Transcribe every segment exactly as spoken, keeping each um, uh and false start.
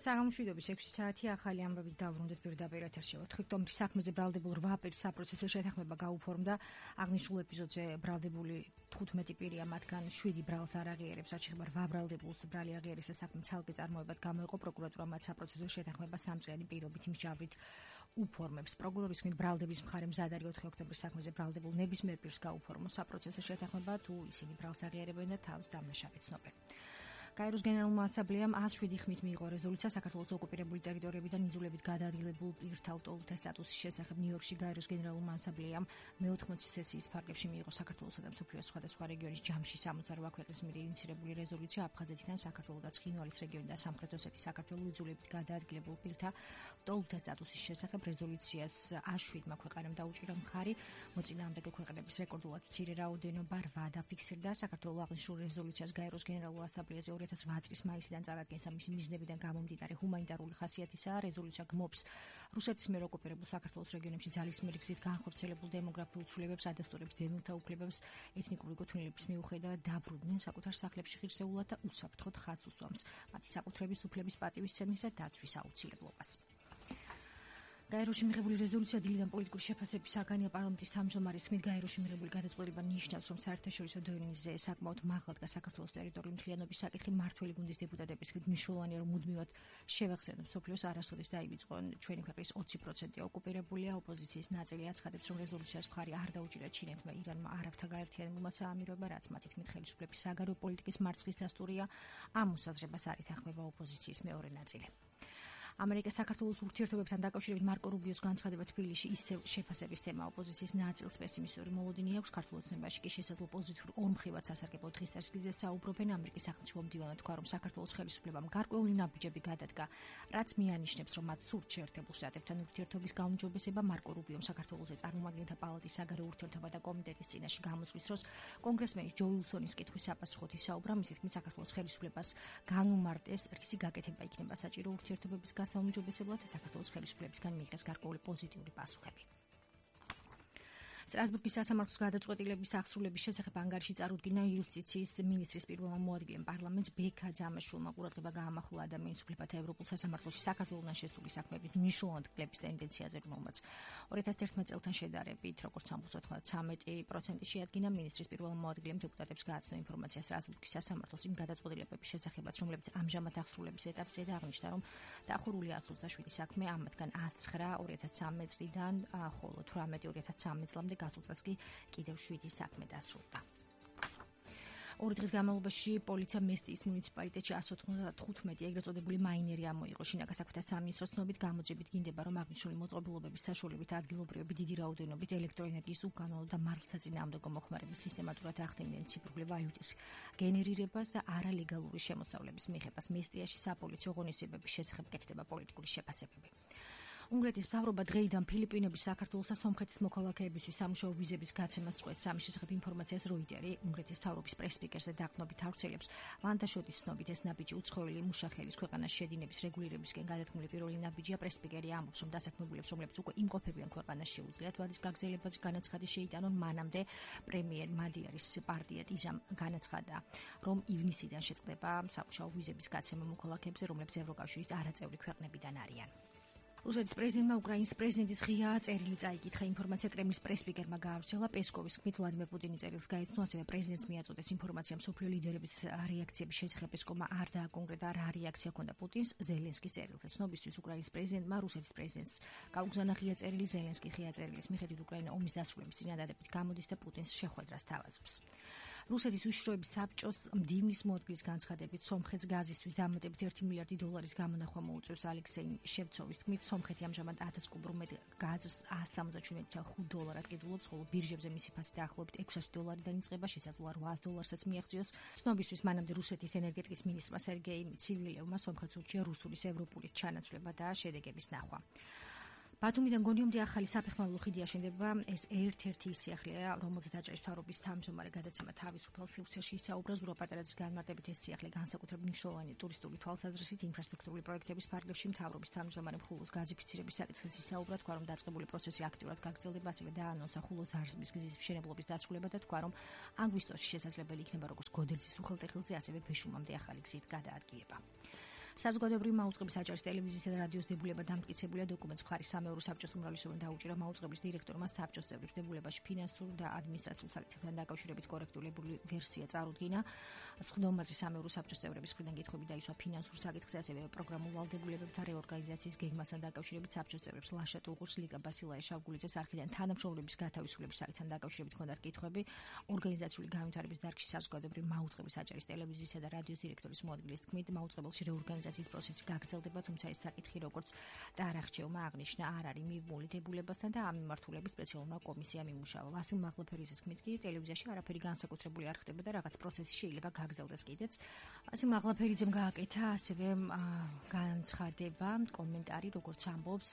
საღამოშვიდობის ექვსი საათი ახალი ამბებით დავბრუნდეთ პირდაპირ ეთერში. ოქტომბრის საქმეზე ბრალდებულ რვა პირის საპროცესო შეთანხმება გაუფორმდა. აღნიშნულ ეპიზოდზე ბრალდებული თხუთმეტი პირია, მათგან შვიდი ბრალს არ აღიარებს, რაც შეეხება რვა ბრალდებულს ბრალი აღიარეს საქმე ცალკე წარმოებად გამოიყო. პროკურატურა მათ საპროცესო შეთანხმება სამწლიანი პირობითი მსჯავრით უფორმებს. პროკურორის თქმით, ბრალდების მხარე მზად არის ოთხი ოქტომბრის საქმეზე ბრალდებულ ნებისმიერ პირს გაუფორმოს საპროცესო შეთანხმება, თუ ისინი ბრალს აღიარებენ და თავს დამნაშავედ ცნობენ. კაიროს გენერალურმა ასამბლეამ ას შვიდი ხმით მიიღო რეზოლუცია საქართველოს ოკუპირებული ტერიტორიებიდან იძულებით გადაადგილებულ პირთა ლტოლვილთა სტატუსის შესახებ. ნიუ-იორკში კაიროს გენერალურმა ასამბლეამ მეოთხმოცი სესიის ფარგლებში მიიღო საქართველოსა და მსოფლიოს სხვადასხვა რეგიონის ჯამში სამოცდა რვა ქვეყნის მიერ ინიცირებული რეზოლუცია აფხაზეთიდან საქართველოს და ცხინვალის რეგიონი და სამხრეთ ოსეთის საქართველოს იძულებით გადაადგილებულ პირთა ლტოლვილთა სტატუსის შესახებ. რეზოლუციას ას შვიდმა ქვეყანამ დაუჭირა მხარი. მოწინააღმდეგე ქვეყნების რეკორდულად მცირე რაოდენობა რვა დაფიქსირდა. საქართველოს აღნიშნულ რეზოლუციას კაიროს გენერალურ ასამბლეაზე ორი ათას რვა წლის მაისიდან წარადგენს. ამისი მიზნებიდან გამომდინარე ჰუმანიტარული ხასიათისაა. რეზოლუცია გმობს რუსეთის მიერ ოკუპირებულ საქართველოს რეგიონებში ძალისმიერი გზით განხორციელებულ დემოგრაფიულ ცვლილებებს, ადასტურებს დევნილთა უფლებებს, ეთნიკური გოთვნილების მიუხედავად დაბრუნდნენ საკუთარ სახლებში ღირსეულად და უსაფრთხოდ ხაზს უსვამს მათი საკუთრების უფლების პატივისცემის და დაცვის აუცილებლობას. კაიროში მიღებული რეზოლუცია დილიდან პოლიტიკური შეფასების საგანია. პარლამენტის თავმჯდომარის თქმით, კაიროში მიღებული გადაწყვეტილება ნიშნავს, რომ საერთაშორისო დონეზე საკმაოდ მაღლა დგას საქართველოს ტერიტორიული მთლიანობის საკითხი. მმართველი გუნდის დეპუტატების თქმით, მნიშვნელოვანია, რომ მუდმივად შევახსენოთ მსოფლიოს არასოდეს დაივიწყო ჩვენი ქვეყნის ოცი პროცენტი ოკუპირებულია. ოპოზიციის ნაწილი აცხადებს, რომ რეზოლუციას მხარი არ დაუჭირა ჩინეთმა, ირანმა, არაბთა გაერთიანებულმა საამიროებმა, რაც მათი თქმით ხელისუფლების საგარეო პოლიტიკის მარცხის დასტურია. ამ მოსაზრებას არ ითანხმება ოპოზიციის მეორე ნაწილი. ამერიკა საქართველოს ურთიერთობებთან დაკავშირებით მარკო რუბიოს განცხადება თბილისში ისევ შეფასების თემა. ოპოზიციის ნაწილს პესიმისტური მოლოდინი აქვს. ქართულ ოცნებაში კი შესაძლო პოზიტიურ ორმხრივად სასარგებლო დღის წესრიგზე საუბრობენ. ამერიკის სახელმწიფო მდივანმა თქვა, რომ საქართველოს ხელისუფლებამ გარკვეული ნაბიჯები გადადგა, რაც მიანიშნებს, რომ მათ სურთ შეერთებულ შტატებთან ურთიერთობის გაუმჯობესება. მარკო რუბიომ საქართველოს წარმომადგენელთა პალატის საგარეო ურთიერთობათა კომიტეტის წინაშე გამოსვლის დროს კონგრესმენი ჯო უილსონის კითხვის საპასუხოდ ისაუბრა. მისი თქმით, საქართველოს ხელისუფლებას განუმარტეს, რისი გაკეთება იქნება საჭირო ურთიერთობების საუმჯობესებლად და საქართველოს ხელისუფლებისგან მიიღეს გარკვეული პოზიტიური პასუხები. სტრასბურგის სასამართლოს გადაწყვეტილების აღსრულების შესახებ ანგარიში წარუდგინა იუსტიციის მინისტრის პირველმა მოადგილემ პარლამენტს. ბექა ძამაშვილმა ყურადღება გაამახვილა ადამიანის უფლებათა ევროპულ სასამართლოში საქართველოსთან შესული საქმეების მნიშვნელოვანი კლების ტენდენციაზე, რომელმაც ორი ათას ერთმანეტ წელთან შედარებით, როგორც სამოცდა ცხრამეტი პროცენტი შეადგინა. მინისტრის პირველმა მოადგილემ დეპუტატებს გააცნო ინფორმაცია სტრასბურგის სასამართლოს იმ გადაწყვეტილებების შესახებაც, რომლებიც ამჟამად აღსრულების ეტაპზეა და აღნიშნა, რომ დაახურულია ათს ოცდაშვიდი საქმე, ამათგან ას ცხრა ორი ათას ცხრამეტ წლიდან, ხოლო თვრამეტი ორი ათას ცხრამეტ წლამდე გასულ წელს კი კიდევ შვიდი საქმე დასრულდა. ორი დღის განმავლობაში პოლიცია მესტიის მუნიციპალიტეტში ას ოთხმოცდათხუთმეტი ეგრეთ წოდებული მაინერი ამოიღო. შინაგან საქმეთა სამინისტროს ცნობით გამოძებით გინდება, რომ აღნიშნული მოწყობილობების საშუალებით ადგილობრივები დიდი რაოდენობით ელექტროენერგიის უკანონო და მართლსაწინააღმდეგო მოხმარებით სისტემატურად ახდენდნენ ციფრული ვალუტის გენერირებას და არალეგალური შემოსავლების მიღებას. მესტიაში საპოლიციო ღონისძიებების შესახებ კეთდება პოლიტიკური შეფასებები. უნგრეთის მთავრობა დღეიდან ფილიპინების, საქართველოს და სომხეთის მოქალაქეებისთვის სამუშაო ვიზების გაცემას წყვეტს. ამის შესახებ ინფორმაციას როიტერი უნგრეთის მთავრობის პრეს-სპიკერზე დაყრდნობით ავრცელებს. ვანტაშოტის ცნობით ეს ნაბიჯი უცხოელი მუშახელის ქვეყანაში შედინების რეგულირებისკენ გადადგმული პირველი ნაბიჯია. პრეს-სპიკერი ამბობს, რომ დასაქმებულებს, რომლებიც უკვე იმყოფებიან ქვეყანაში, შეუძლიათ ვადის გაგრძელებაზე განაცხადი შეიტანონ. მანამდე პრემიერ მადიარის პარტია ტიზამ განაცხადა, რომ ივნისიდან შეწყდება სამუშაო ვიზების გაცემა მოქალაქეებზე, რომლებიც ევროკავშირის არაწევრი ქვეყნებიდან არიან. რუსეთის პრეზიდენტმა უკრაინის პრეზიდენტის ღია წერილი წაიკითხა. ინფორმაცია კრემლის პრეს-სპიკერმა გაავრცელა. პესკოვის თქმით, ვლადიმერ პუტინი წერილს გაეცნო, ასევე პრეზიდენტს მიაწოდეს ინფორმაცია მსოფლიო ლიდერების რეაქციების შესახებ. პესკოვმა არ დააკონკრეტა, რა რეაქცია ჰქონდა პუტინს ზელენსკის წერილზე. ცნობისთვის უკრაინის პრეზიდენტმა რუსეთის პრეზიდენტს გაუგზავნა ღია წერილი. ზელენსკი ღია წერილის მიხედვით უკრაინა ომის დასრულების წინადადებით გამოდის და პუტინს შეხვედრას თავაზობს. რუსეთის უშიშროების საბჭოს მდივნის მოადგილის განცხადებით, სომხეთს გაზისთვის დამატებით ერთი მილიარდი დოლარის გამონახვა მოუწევს. ალექსეი შევცოვის თქმით, სომხეთი ამჟამად ათას კუბურ მეტ გაზს ას სამოცდაშვიდ ათას დოლარად ყიდულობს, ხოლო ბირჟებზე მისი ფასი დაახლოებით ექვსასი დოლარიდან იწყება, შესაძლოა რვაას დოლარსაც მიაღწიოს. ცნობისთვის მანამდე რუსეთის ენერგეტიკის მინისტრმა სერგეი ცივილევმა სომხეთს ურჩია რუსულის ევროპული ჩანაცვლება და შედეგების ნახვა. ბათუმიდან გონიომდე ახალი საფეხმავლო ხიდი აშენდება. ეს ერთ-ერთი ის სიახლეა, რომელზეც აჭარის მთავრობის თავმჯდომარე გადაცემა თავისუფალ სივრცეში ისაუბრა. ზურაბ-პატერაძის განმარტებით ეს სიახლე განსაკუთრებით მნიშვნელოვანი ტურისტული თვალსაზრისით ინფრასტრუქტურული პროექტების ფარგლებში მთავრობის თავმჯდომარე მხულოს გაზიფიცირების საკითხიც ისაუბრა. თქვა, რომ დაწყებული პროცესი აქტიურად გაგრძელდება, ასევე დაანონსა ხულოს ზარზმის გზის მშენებლობის დასრულება და თქვა, რომ აგვისტოში შესაძლებელი იქნება როგორც გოდერძის უხელტეხილზე, ასევე ბეშუმამდე ახალი გზით გადაადგილება. საზოგადოებრივი მაუწყებლის აჭარის ტელევიზიისა და რადიოს დებულება დამტკიცებულია დოკუმენტს მხარის სამეურვე საბჭოს უმრავლესობამ დაუჭირა მაუწყებლის დირექტორმა საბჭოს წევრებს დებულებაში ფინანსურ და ადმინისტრაციულ საკითხებთან დაკავშირებით კორექტული ვერსია წარუდგინა. სხდომაზე სამეურვე საბჭოს წევრების მხრიდან კითხვები დაისვა ფინანსურ საკითხზე, ასევე პროგრამულ ვალდებულებებთან რეორგანიზაციის გეგმასთან დაკავშირებით საბჭოს წევრებს ლაშა ტულყურს, ლიკა ბასილაია შავგულიძეს არქიდან თანამშრომლობის გათავისუფლების საკითხთან დაკავშირებით ჰქონდათ კითხვები. ორგანიზაციული განვითარების დარგში საზოგადოებრივი მაუწყებლის აჭარის ტელევიზიისა და რადიოს დირექტორის მოადგილის თქმით, მაუწყებელში რეორგანიზაციის პროცესი გაგრძელდება, თუმცა ეს საკითხი როგორც დაარახჩევმა აღნიშნა არ არის მიბმული დებულებასთან და ამ მიმართულებით სპეციალურმა კომისიამ იმუშავა. ვასილ მაღლაფერიძის თქმით კი ტელევიზიაში არაფერი განსაკუთრებული არ ხდება და რაღაც პროცესი შეიძლება გაგრძელდეს კიდეც. ვასილ მაღლაფერიძემ გააკეთა ასევე განცხადება, კომენტარი, როგორც ამბობს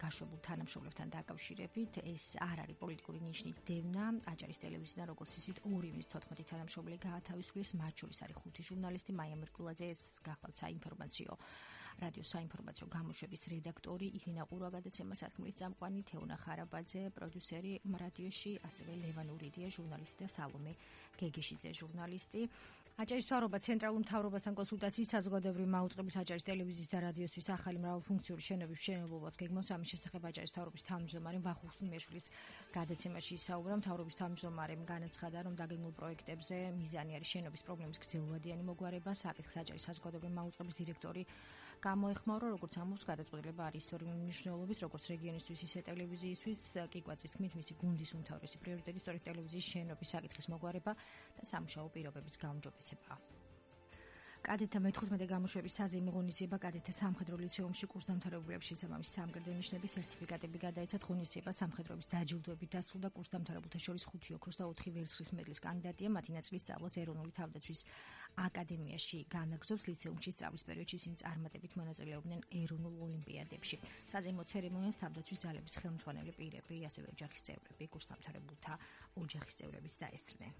გაშვებულ თანამშრომლებთან დაკავშირებით, ეს არ არის პოლიტიკური ნიშნით დევნა აჭარის ტელევიზიიდან, როგორც ისიც ორი მის თოთხმეტი თანამშრომელი გაათავისუფლეს, მათ შორის არის ხუთი ჟურნალისტი, მაია მერკულაძე, ეს გახლავთ საინფორმაციო რადიოს საინფორმაციო გამოშვების რედაქტორი, ირინა ყურაგადაცემა სათქმლის წამყვანი, თეონა ხარაბაძე, პროდიუსერი რადიოში, ასევე ლევან ურიდია, ჟურნალისტი და სალომე გეგეშიძე, ჟურნალისტი. აჭარის მთავრობა ცენტრალურ მთავრობასთან კონსულტაციით საზოგადოებრივი მაუწყებლის აჭარის ტელევიზიის და რადიოსთვის ახალი მრავალფუნქციური შენობების მშენებლობას გეგმავს. ამის შესახებ აჭარის მთავრობის თავმჯდომარემ ვახუშტი ხსნიაშვილის გადაცემაში ისაუბრა. მთავრობის თავმჯდომარემ განაცხადა, რომ დაგეგმულ პროექტებზე მიზანი არის შენობის პრობლემის გრძელვადიანი მოგვარება. საკითხს აჭარის საზოგადოებრივი მაუწყებლის დირექტორი გამოეხმაურა, როგორც ამბობს, გადაწყვეტილება არის ისტორიული მნიშვნელობის, როგორც რეგიონისთვის, ისე ტელევიზიისთვის. კიკვაძის თქმით, მისი გუნდის უმთავრესი პრიორიტეტი სწორედ ტელევიზიის შენობის საკითხის მოგვარება და სამუშაო პირობების გაუმჯობესება. კადეტთა მეთხუთმეტე გამოშვების საზეიმო ღონისძიება კადეტთა სამხედრო ლიცეუმში კურსდამთავრებულებს შესაბამისი სამგრედო ნიშნების სერტიფიკატები გადაეცათ. ღონისძიება სამხედროების დაჯილდოებით დასრულდა. კურსდამთავრებულთა შორის ხუთი ოქროს და ოთხი ვერცხლის მედლის კანდიდატია. მათი ნაწილი სწავლას ეროვნული თავდაცვის აკადემიაში განაგრძობს. ლიცეუმში სწავლის პერიოდში ისინი წარმატებით მონაწილეობდნენ ეროვნულ ოლიმპიადებში. საზეიმო ცერემონიას თავდაცვის ძალების ხელმძღვანელი პირები, ასევე ოჯახის წევრები, კურსდამთავრებულთა ოჯახის წევრებიც დაესწრნენ.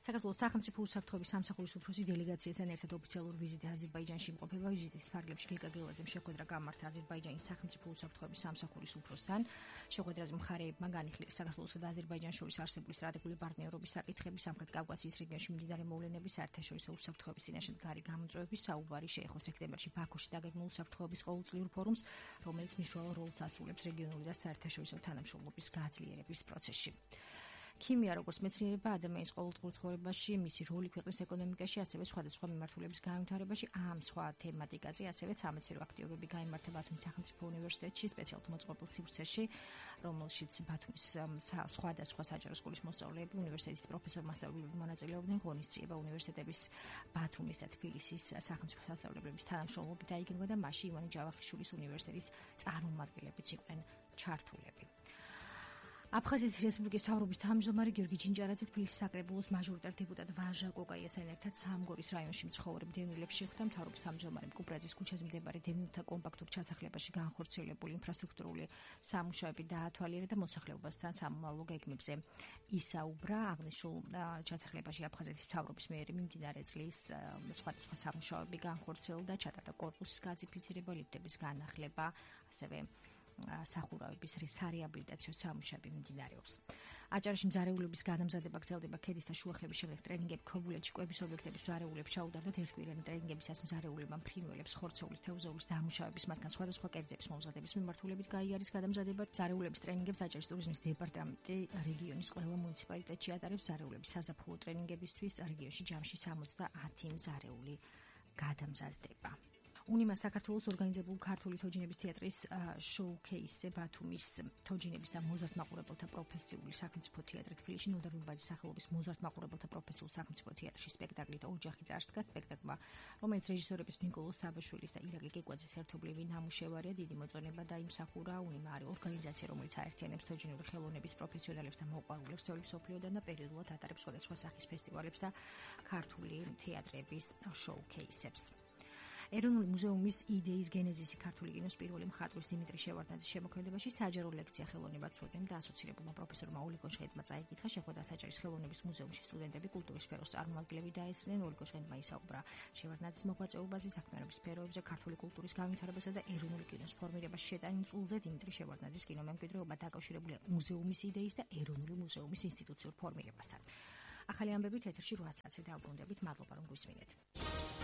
საქართველოს სახელმწიფო უსაფრთხოების სამსახურის უფროსი დელეგაციასთან ერთად ოფიციალურ ვიზიტი აზერბაიჯანში იმყოფება. ვიზიტის ფარგლებში გილკა გელაძემ შეხვედრა გამართა აზერბაიჯანის სახელმწიფო უსაფრთხოების სამსახურის უფროსთან. შეხვედრაზე მხარეებმა განიხილეს საქართველოსა და აზერბაიჯანს შორის არსებული სტრატეგიული პარტნიორობის საკითხები, სამხრეთ კავკასიის რეგიონში მიმდინარე მოვლენების, საერთაშორისო უსაფრთხოების წინაშე მდგარი გამოწვევების საუბარი შეეხო სექტემბერში ბაქოში დაგეგმულ უსაფრთხოების ყოველწლიურ ფორუმს, რომელიც მნიშვნელოვან როლს ასრულებს რეგიონული და საერთაშორისო თანამშრომლობის გაძლიერების პროცესში. ქიმია, როგორც მეცნიერება, ადამიანის ყოველდღიურ ცხოვრებაში, მისი როლი ქვეყნის ეკონომიკაში, ასევე სხვადასხვა მიმართულების განვითარებაში, ამ სხვა თემატიკაზე, ასევე სამეცნიერო აქტივობები გაიმართა ბათუმის სახელმწიფო უნივერსიტეტში, სპეციალურ მოწყობილ სივრცეში, რომელშიც ბათუმის სხვადასხვა საჯარო სკოლის მოსწავლეები, უნივერსიტეტის პროფესორ-მასწავლებლები მონაწილეობდნენ. ღონისძიება უნივერსიტეტების ბათუმის და თბილისის სახელმწიფო სასწავლებლების თანამშრომლობით დაიგეგმა და მასში ივანე ჯავახიშვილის უნივერსიტეტის წარმომადგენლებიც იყვნენ ჩართულები. აფხაზეთის რესპუბლიკის მთავრობის თავმჯდომარე გიორგი ჯინჯარაძე თბილისის საკრებულოს მაჟორიტარ დეპუტატ ვაჟა კოკაიასთან ერთად სამგორის რაიონში მცხოვრებ დევნილებს შეხვდა. მთავრობის თავმჯდომარემ კუპრაძის ქუჩაზე მდებარე დევნილთა კომპაქტურ ჩასახლებაში განხორციელებული ინფრასტრუქტურული სამუშაოები დაათვალიერა და მოსახლეობასთან სამომავლო გეგმებზე ისაუბრა. აღნიშნულ ჩასახლებაში აფხაზეთის მთავრობის მიერ მიმდინარე წლის სხვადასხვა სამუშაოები განხორციელდა, ჩატარდა კორპუსის გაზიფიცირება, ლიფტების განახლება, ასევე სახურავების სარეაბილიტაციო სამუშაოები მიმდინარეობს. აჭარაში მზარეულობის გადამზადება გრძელდება. ქედის და შუახევის შემდეგ ტრენინგები ქობულეთში კვების ობიექტების მზარეულებს ჩაუტარდათ. ერთკვირიანი ტრენინგებისას მზარეულებმა ფრინველებს, ხორცოვლის, თევზაურის დამუშავების, მათგან სხვადასხვა კერძების მომზადების მიმართულებით გაიარის გადამზადება. მზარეულების ტრენინგებს აჭარის ტურიზმის დეპარტამენტი რეგიონის ყველა მუნიციპალიტეტში ატარებს. მზარეულების საზაფხულო ტრენინგებისთვის რეგიონში ჯამში სამოცდაათი მზარეული გადამზადდება. უნიმას საქართველოს ორგანიზებულ ქართული თოჯინების თეატრის შოუ-ქეისზე ბათუმის თოჯინების და მოზარდ მაყურებელთა პროფესიული სახელმწიფო თეატრი თბილისში ნოდარ რუბაძის სახელობის მოზარდ მაყურებელთა პროფესიულ სახელმწიფო თეატრში სპექტაკლით ოჯახი წარსდგა. სპექტაკლმა, რომელიც რეჟისორების ნიკოლოზ საბაშვილის და ირაკლი კეკვაძის ერთობლივი ნამუშევარია, დიდი მოწონება დაიმსახურა. უნიმა არის ორგანიზაცია, რომელიც აერთიანებს თოჯინური ხელოვნების პროფესიონალებს და მოყვარულებს თითოეულ მსოფლიოდან და პერიოდულად ატარებს სხვადასხვა სახის ფესტივალებს და ქართული თეატრების შოუ-ქეისებს. ეროვნული მუზეუმის იდეის გენეზისი ქართული კინოს პირველი მხატვრის დიმიტრი შევარდნაძის შემოქმედებაში საჯარო ლექცია ხელოვნება ცოდნემ და ასოცირებულმა პროფესორმა ოლიგო ჟღენტმა წაიკითხა. შეხვედრა საჯარის ხელოვნების მუზეუმში სტუდენტები, კულტურის სფეროს წარმომადგენლები დაესწრნენ. ოლიგო ჟღენტმა ისაუბრა შევარდნაძის მოღვაწეობაზე, საქმიანობის სფეროებზე, ქართული კულტურის განვითარებასა და ეროვნული კინოს ფორმირებაში შეტანილ წულზე. დიმიტრი შევარდნაძის კინომემკვიდრეობა დაკავშირებულია მუზეუმის იდეის და ეროვნული მუზეუმის ინსტიტუციურ ფორმირებასთან. ახალი ამბებით ეთერში რვა საათზე დაუბრუნდებით. მადლობა რომ გვისმინეთ.